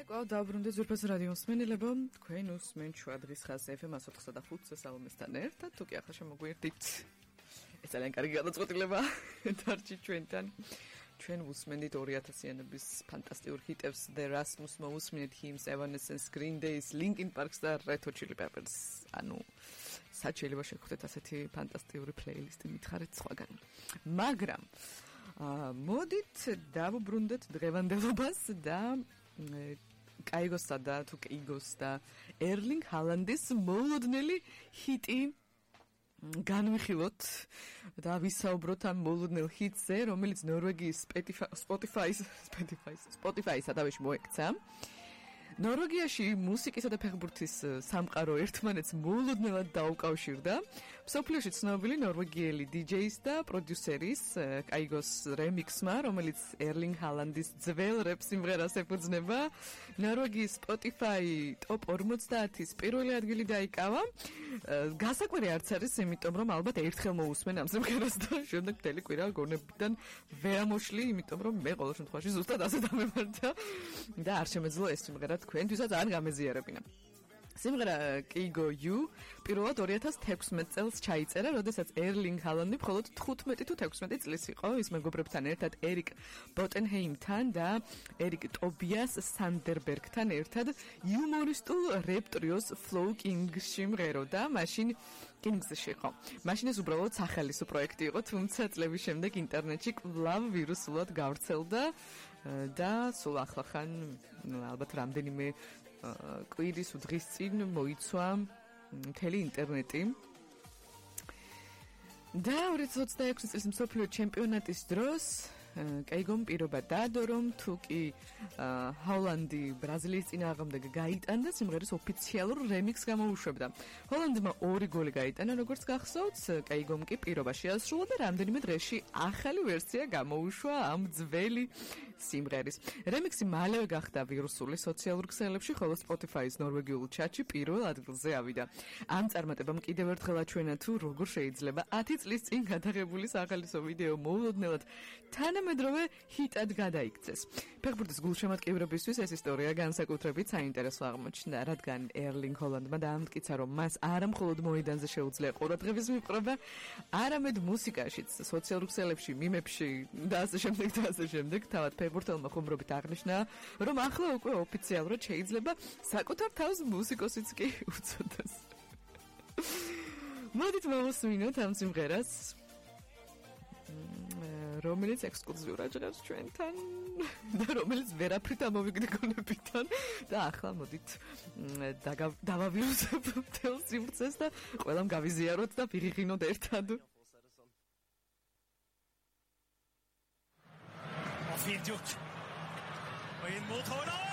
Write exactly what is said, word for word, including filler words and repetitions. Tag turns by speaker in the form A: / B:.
A: კვლავ დაუბრუნდეთ ზურფას რადიო მსმენელებო, თქვენ უსმენთ შუა დღის ხაზს ეფ ემ εκατოთხი და ხუთზე სალომესთან ერთად, თუ კი ახლა შემოგვიერთდით. ეს ძალიან კარგი გადაწყვეტილება დარჩი ჩვენთან. ჩვენ უსმენთ ორი ათასიანების ფანტასტიკურ ჰიტებს, The Rasmus მოусმენთ Hymns, Evanescence, Green Days, Linkin Parks და Red Hot Chili Peppers. ანუ სად შეიძლება შეგხვდეთ ასეთი ფანტასტიკური პლეილისტი მითხარით სხვაგან. მაგრამ აა მოდით დავუბრუნდეთ დღევანდელობას და კაიგოსა და თუ კაიგოს და ერლინგ ჰალანდის მოულოდნელი ჰიტი განვიხილოთ და ვისაუბროთ ამ მოულოდნელ ჰიტზე, რომელიც ნორვეგიის Spotify-ის Spotify-ის Spotify-ს ადავეში მოექცა. ნორვეგიაში მუსიკისა და ფეხბურთის სამყარო ერთმანეთს მოულოდნელად დაუკავშირდა. მსოფლიოში ცნობილი ნორვეგიელი დი-ჯეის და პროდიუსერის კაიგოს რემიქსმა, რომელიც ერლინგ ჰალანდის ძველ რეპ სიმღერას ეფუძნება, ნორვეგიის Spotify ტოპ ორმოცდაათის პირველი ადგილი დაიკავა. გასაკვირი არც არის, იმიტომ რომ ალბათ ერთხელ მოусმენ ამ სიმღერას და შემდეგ მთელი კვირა გონებიდან ვერ ამოშლი, იმიტომ რომ მე ყოველ შემთხვევაში ზუსტად ასე დამემართა და არ შემეძლო ეს სიმღერა თქვენთვისაც არ გამეზიარებინა. სიმღერა Keigo You პირველად ორი ათას თექვსმეტ წელს ჩაიწერა, როდესაც ერლინგ ჰალანდი მხოლოდ თხუთმეტი თუ თექვსმეტი წლის იყო. ის მეგობრებთან ერთად ერიკ ბოტენჰეიმთან და ერიკ ტობიას სანდერბერგთან ერთად იუმორისტულ რეპ ტრიოს Flow King-ში მღეროდა. მაშინ Kings-ში იყო. მაშინ ეს უბრალოდ სახალისო პროექტი იყო, თუმცა წლების შემდეგ ინტერნეტში კვლავ ვირუსულად გავრცელდა და სულ ახლახან ალბათ რამდენიმე კვირის უდღის წინ მოიცვა მთელი ინტერნეტი. და ორი ათას ოცდაექვსი წლის მსოფლიო ჩემპიონატის დროს კაიგომ პირობა დაადო, რომ თუ კი ჰოლანდი ბრაზილიის წინააღმდეგ გაიტანდა, სიმღერის ოფიციალურ რემიქსს გამოუშვებდა. ჰოლანდმა ორი გოლი გაიტანა, როგორც გახსოვთ, კაიგომ კი პირობა შეასრულა და რამდენიმე დღეში ახალი ვერსია გამოუშვა ამ ძველი სიმღერის. რემიქსი მალევე გახდა ვირუსული სოციალურ ქსელებში, ხოლო Spotify-ის ნორვეგიულ ჩატში პირველ ადგილზე ავიდა. ამ წარმატებამ კიდევ ერთხელ აჩვენა თუ როგორ შეიძლება ათი წლის წინ გადაღებული სახალისო ვიდეო მოულოდნელად თანამედროვე ჰიტად გადაიქცეს. ფეხბურთის გულშემატკივრებისთვის ეს ისტორია განსაკუთრებით საინტერესო აღმოჩნდა, რადგან ერლინგ ჰოლანდმა დაამტკიცა, რომ მას არა მხოლოდ მოედანზე შეუძლია ყურადღების მიპყრობა, არამედ მუსიკაშიც, სოციალურ ქსელებში, მიმებში და ასე შემდეგ და ასე შემდეგ. თავად ფეხბურთელმა ხუმრობით აღნიშნა, რომ ახლა უკვე ოფიციალურად შეიძლება საკუთარ თავს მუსიკოსიც კი უწოდოს. მოდით მოვუსმინოთ ამ სიმღერას, რომელიც ექსკლუზიურად ჟღერს ჩვენთან და რომელიც ვერაფრით ამოვიგდე გონებიდან და ახლა მოდით დავავიუსებ მთელ სიმღერას და ყველამ გავიზიაროთ და ვიღიღინოთ ერთად.
B: Fint gjort. Og inn mot Haaland!